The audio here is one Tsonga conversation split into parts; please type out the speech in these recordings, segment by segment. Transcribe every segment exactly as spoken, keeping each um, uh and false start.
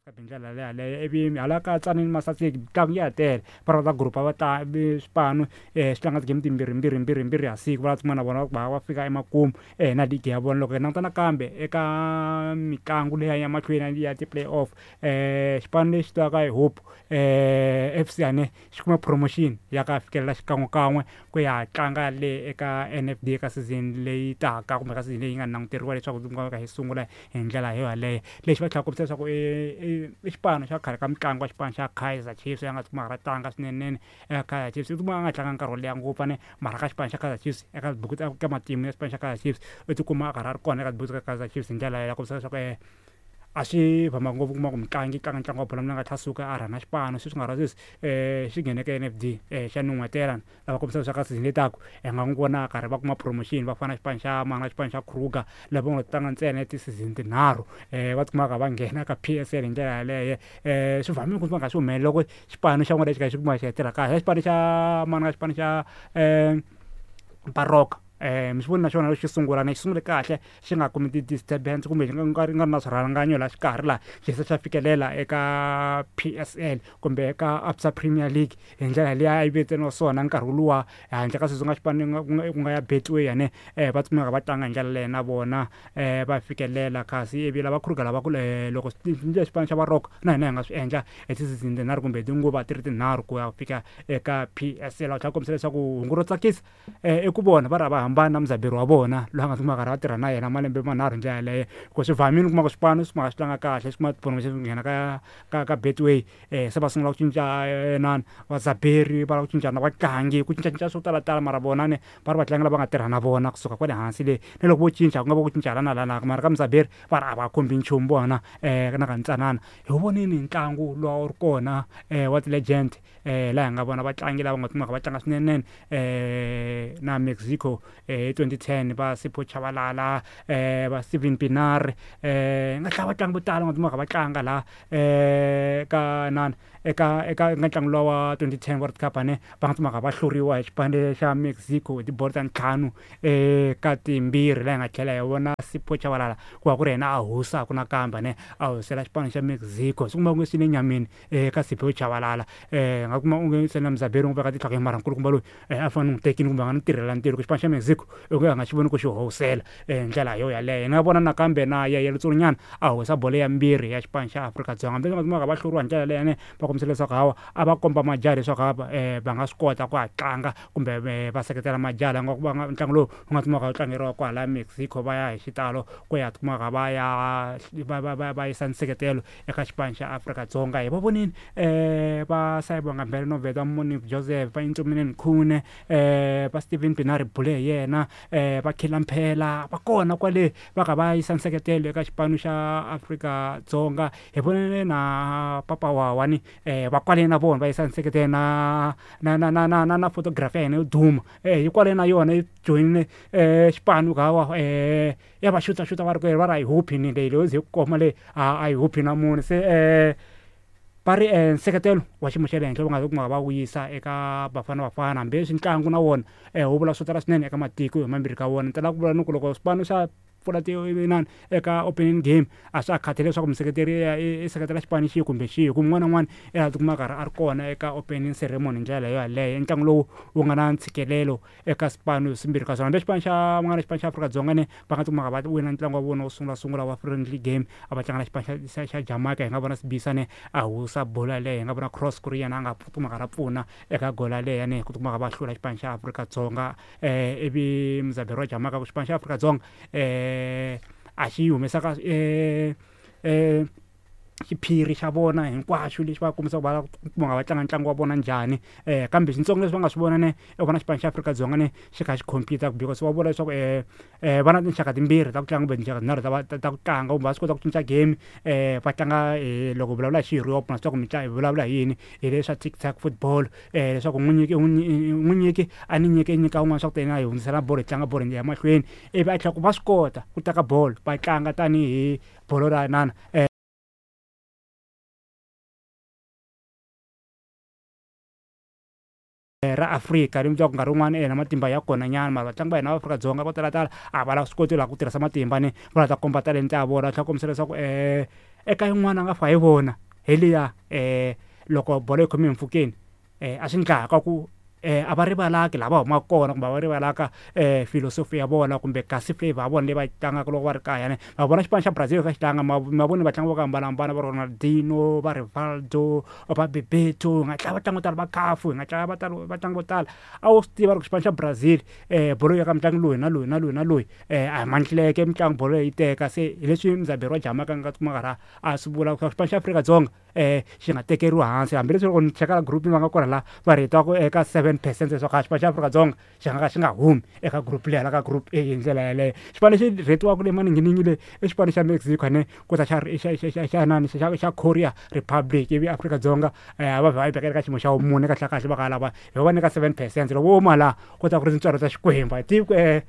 Hi ndlela leyo yaleyo ivi hala ka Tzaneen Masaseki mitlangu ya ha tele va rhandza group va ta swipano swi tlanga ti-game timbirhi mbirhi mbirhi mbirhi ha siku va tikuma na vona va va fika emakumu na league ya vona. Loko hi languta nakambe eka mitlangu leya ya mahlweni ya ti-play off xipano lexi tiviwaka hi Hope F C ane xi kuma promotion ya ka fikelela xikan'wekan'we ku ya tlanga le eka N F D eka season leyi taka kumbe ka season leyi nga languteriwa leswaku yi nga yi sungula hi ndlela yo yaleyo. Lexi va tlhela kombisa leswaku i i xipano xa khale ka mitlangu wa xipano xa Kaizer Chiefs ya nga tikuma ra tlanga swinene eka Kaizer Chiefs i tikuma a nga tlanga nkarhi wo leha ngopfu ane mara ka xipano xa Kaizer Chiefs eka tibuku ta ka matimu ya xipano xa Kaizer Chiefs u tikuma a karhi a ri kona eka tibuku ta Kaizer Chiefs hi ndlela ya kombisa leswaku a swi vhama ngopfu kuma ku mutlangi tlanga ntlangu wa bolo ya milenge a tlhela suka a rhanga xipano sweswi nga ra sweswi xi nghene ka N F D xa nun'hwetela lava kombisa leswaku ka season leyi taka hi nga n'wi vona a karhi va kuma promotion va fana na xipano xa mani na xipano xa Kruger lava nga tlanga ntsena ti-season tinharhu va tikumaka va nghena ka P S L hi ndlela yaleyo. Swi vhamile ku nga swi humelela loko xipano xa n'wina lexi kha xi kuma xi ya tirha kahle xipano xa mani na xipano xa Baroka mi swi voni na xona lexo sungula na xi sungule kahle xi nga kumi ti-disturbance kumbe xi nga ri nga ri na swirhalanganyi laha xikarhi laha xi se xa fikelela eka P S L kumbe eka A B S A Premier League hi ndlela leyi a yi vitaniwa swona nkarhi luwa handle ka sweswi nga xipano ku nga ya Betway yane va kumeka va tlanga hi ndlela leyo na vona va fikelela kasi ivi lava Kruger lava ku loko xipano xa Baroka na hina hi nga swi endla hi ti-season tinharhu kumbe tinguva ti ri tinharhu ku ya fika eka P S L. Va tlhela kombisa leswaku hungu ro tsakisa i ku vona va ri a va hambani na muzaberi wa vona loyi a nga tikuma a karhi a tirha na yena malembe manharhu hi ndlela yaleyo ku swi vhamile u kuma ku swipano swi kumaka swi tlanga kahle swi kuma ti-promotion swi nghena ka ka ka Betway se va sungula ku cinca inani vazaberi va lava ku cinca na vatlangi ku cincacinca swo talatala mara vona ne va ri vatlangi lava nga tirha na vona kusuka kwale hansi le ni loko vo cinca ku nga va ku cinca hala na hala mara ka muzaberi va ri a va khumbi nchumu vona na ka ntsanana. Hi vonini ntlangu lowu a wu ri kona wa ti-legend laha hi nga vona vatlangi lava nga kumaka va tlanga swinene na Mexico hi twenty ten va Sipho Chabalala va Steven Pienaar nga tlhela vatlangi vo tala nga kumaka va tlanga laha ka nani eka eka eka ntlangu luwa wa twenty ten World Cup ane va nga kumaka va hluriwa hi xipano xa Mexico hi tibolo ta ntlhanu eka timbirhi laha hi nga tlhela hi vona Sipho Chabalala ku va ku ri yena a howusaka nakambe ane a howusela xipano xa Mexico swi kuma ku swi le nyameni eka Sipho Chabalala nga kuma onge se na muzaberi n'wi veka tihlo mara nkulukumba loyi a fanele n'wi tekile kumbe a nga n'wi tirhela ntirho ku xipano xa Mexico i ku a nga xi voni ku xi howusela hi ndlela yo yaleyo. Hi nga vona nakambe na Yaya Letsonyana a howisa bolo ya mbirhi ya xipano xa Afrika-Dzonga hambi nga kumaka va hluriwa hi ndlela leyo ane va kombisa leswaku hawa a va komba majaha leswaku hava va nga swi kota ku ha tlanga kumbe va seketela majaha nga va nga ntlangu lowu wu nga kumaka wu tlangeriwa kwala Mexico va ya hi xitalo ku ya kumaka va ya va va va va yisa nseketelo eka xipano xa Afrika-Dzonga. Hi va vonile va Sayibonga Mbele Noveta Monique Joseph va Intsumile Khune va Steven Pienaar bule hi yena va Khila Mphela va kona kwale va ka va yisa nseketelo eka xipano xa Afrika-Dzonga. Hi vonile na Papa Wawani va kwale na vona va yisa nseketelo na na na na na na na photography ya yena yo duma hi kwale na yona yi joyinile xipano hawa ya va xuta xuta va ri va ri a yi huphi ni leyi leyo ze yi koma leyi a yi huphi na munhu se va ri nseketelo wa xiyimo xa le henhla va nga kumaka va wu yisa eka Bafana Bafana hambileswi ntlangu na wona wu vula swo tala swinene eka matiko hi mambirhi ka wona. Ni tala ku vula ni ku loko swipano swa pfula ti inani eka opening game a swa ha khathali leswaku museketeri i seketela xipano xihi kumbe xihi hi ku un'wana na un'wana i ta tikuma a karhi a ri kona eka opening ceremony hi ndlela yo yaleyo. I ntlangu lowu wu nga na ntshikelelo eka swipano swimbirhi ka swona hambi xipano xa nga na xipano xa Afrika-Dzonga ne va nga tikumaka va wina ntlangu wa vona wo sungula sungula wa friendly game a va tlanga na xipano xa xa Jamaica hi nga vona Sibisa ne a howisa bolo yaleyo hi nga vona Cross ku ri yena a nga kumaka ra pfuna eka goal yaleyo ane ku tikumaka va hlula xipano xa Afrika-Dzonga ivi muzaberi wa Jamaica ku xipano xa Afrika-Dzonga a xi humesaka xiphiri xa vona hinkwaxo lexi va kombisaka va kuma va tlanga ntlangu wa vona njhani kambe swintsongo leswi va nga swi vona ne i vona xipano xa Afrika-Dzonga ne xi kha xi compete because va vula leswaku va na tinxaka timbirhi ta ku tlanga kumbe tinxaka tinharhu ta ta ku tlanga kumbe va swi kota ku cinca game va tlanga loko vulavula hi xi-Europe na swi tiva ku mi hi vulavula hi yini hi leswa tic tac football leswaku n'wi nyiki n'wi nyiki a ni nyiki nyika un'wana swa ku ta yena hi hundzisela bolo hi tlanga bolo hi ya mahlweni ivi a tlhela ku va swi kota ku teka bolo va tlanga tanihi bolo ra inana ra Afrika ri ku nkarhi wun'wani na matimba ya kona nyana mara vatlangi va hina va Afrika-Dzonga vo talatala a va la swi koti laha ku tirhisa matimba ni va la ta komba talenta ya vona va tlhela kombisa leswaku Eka yin'wana a nga fa hi vona hi liya um loko bolo yi khome hi mpfhukeni um a swi ndlaka ku um a va rivalaki laha va humaka kona kumbe a va rivalaka um filosofi ya vona kumbe kasi flavor ya vona leyi va yi tlangaka loko va ri kaya ne. Ma vona xipano xa Brazil kha xi tlanga ma ma voni vatlangi vo hambanahambana va Ronaldinho, va Rivaldo, va Bebeto, hi nga tlanga vatlangi vo tala va Cafu, hi nga tlanga vatlangi vo tala. A wu swi tiva loko xipano xa Brazil um bolo ya ka mutlangi loyi na loyi na loyi na loyi um a hi mantleke mitlangu bolo yi teka. Se hi leswi Mzaberi wa Jamaica a nga tikuma a karhi a swi vula ku xipano xa Afrika-Dzonga um xi nga tekeriwi hansi hambileswi loko ni cheka group va nga kona laha va rhetiwaka eka seven percent leswaku a xipano xa Afrika-Dzonga xi nga ka xi nga humi eka group leyi hala ka group A hi ndlela yaleyo. Xipano lexi rhetiwaka le maninginingini le i xipano xa Mexico ene ku ta xa xa xa xa xa nani xa xa Korea Republic, ivi Afrika-Dzonga um va vha va yi veka eka xiyimo xa vumune kahle kahle va ka lava hi va nyika seven percent. Loko wo huma laha ku ta ku ri tintswalo ta Xikwembu, a hi tivi ku um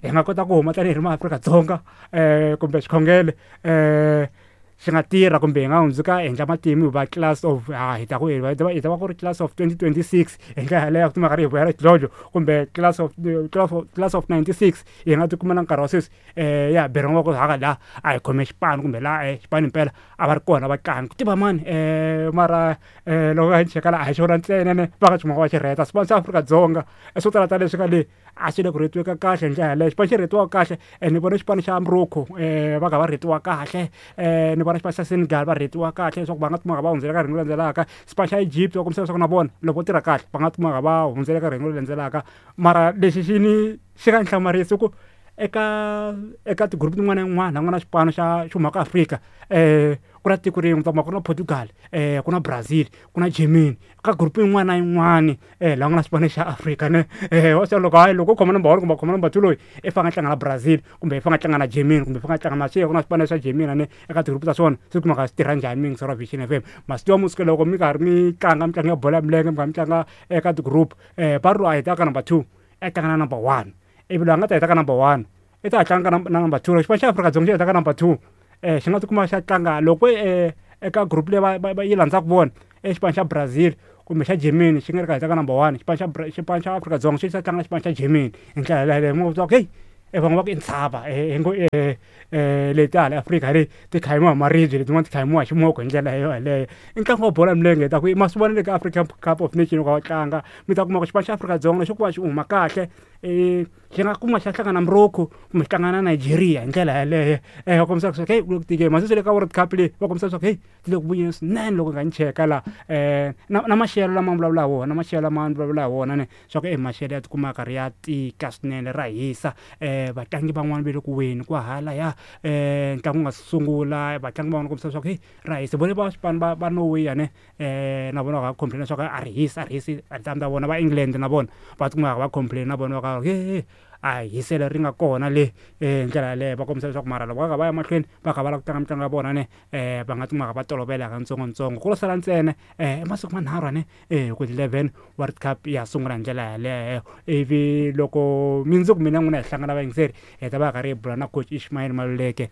hi nga kota ku huma tanihi ri maAfrika-Dzonga um kumbe xikhongelo um xi nga tirha kumbe hi nga hundzuka endla matimu hi va class of ha hi ta ku hi ta hi ta va ku ri class of twenty twenty six hi ndlela yaleyo ku timhaka ri hi vuyela xidlodlo kumbe class of class of class of ninety six hi nga tikuma na nkarhi wa sweswi um ya beriwa ku haka laha a hi khome xipano kumbe laha xipano himpela a va ri kona vatlangi ku tiva mani um mara um loko hi cheka laha a hi xona ntsena ne va nga xi va xi rheta xipano xa Afrika-Dzonga swo tala ta leswi nga le a swi le ku rhetiweka kahle hi ndlela yaleyo. Xipano xi rhetiwaka kahle ni vona xipano xa Morocco um va kha va rhetiwa kahle um ni vona xipano xa Senegal va rhetiwa kahle leswaku va nga tikuma va hundzela ka rhengu leri landzelaka. Xipano xa Egypt va kombisa leswaku na vona loko vo tirha kahle va nga tikuma va hundzela ka rhengu leri landzelaka. Mara lexi xi ni xi nga ni hlamarisa i ku eka eka ti-group tin'wana na yin'wana la ku nga na xipano xa xi humaka Afrika um ku na tiko rin'we u ta kuma ku ri na Portugal, um ku na Brazil, ku na Germany ka group yin'wana na yin'wani um laha ku nga na xipano xa Afrika ne. Um wa swi tiva loko hayi loko u khoma number one kumbe u khoma number two loyi i fanele a tlanga na Brazil kumbe i fanele a tlanga na Germany kumbe i fanele a tlanga na swi ku na swipano swa Germany ne eka ti-group ta swona se kumaka swi tirha njhani mi yingiseri wa Vision F M. Ma swi tiva musi loko mi karhi mi tlanga mitlangu ya bolo ya milenge mi karhi mi tlanga eka ti-group um va ri loyi a hetaka ka number two a tlanga na number one ivi loyi a nga ta heta ka number one i ta tlanga ka na number two. Loko xipano xa Afrika-Dzonga xi heta ka number two um xi nga tikuma xa tlanga loko um eka group leyi va va yi landzaka vona i xipano xa Brazil kumbe xa Germany xi nga ri ka heta ka number one xipano xa xipano xa Afrika-Dzonga xi ta tlanga na xipano xa Germany hi ndlela yaleyo mi va ku heyi van'wana va ku i ntshava hi ngo um leti hala Afrika leyi ti khayimiwa hi maribye letin'wana ti khayimiwa hi ximoko hi ndlela yaleyo. I ntlangu wa bolo ya milenge hi ta ku ma swi vona le ka African Cup of Nation loko va tlanga mi ta kuma ku xipano xa Afrika-Dzonga lexo ku va xi huma kahle um xi nga kuma xi ya hlangana na Morocco kumbe xi tlanga na Nigeria hi ndlela yaleyo um va kombisa leswaku heyi ku le ku tikeni masiku le ka World Cup leyi va kombisa leswaku heyi ti le ku vuyeni swinene loko hi nga ni cheka laha um na na maxelo lama vulavula hi wona maxelo lama ni vulavula hi wona ne swa ku e maxelo ya tikuma ya karhi ya tika swinene ra hisa um vatlangi van'wani va le ku weni kwahalaya um ntlangu wu nga sungula vatlangi van'wana kombisa leswaku heyi ra hisa vone va swipano va va Norway ne um na vona va complain leswaku a ri hisi a ri hisi a ta vona va England na vona va tikuma va complain na vona va ka he a hi hiselo ri nga kona le hi ndlela yaleyo va kombisa leswaku mara loko va kha va ya mahlweni va kha va lava ku tlanga mitlangu ya vona ne um va nga tikuma va tolovela katsongotsongo ku lo sala ntsena um i masiku manharhu ne um ku eleven World Cup ya sungula hi ndlela yaleyo ivi loko mundzuku mina n'wina hi hlangana vayingiseri hi ta va hi karhi hi bula na coach Ishmael Maluleke.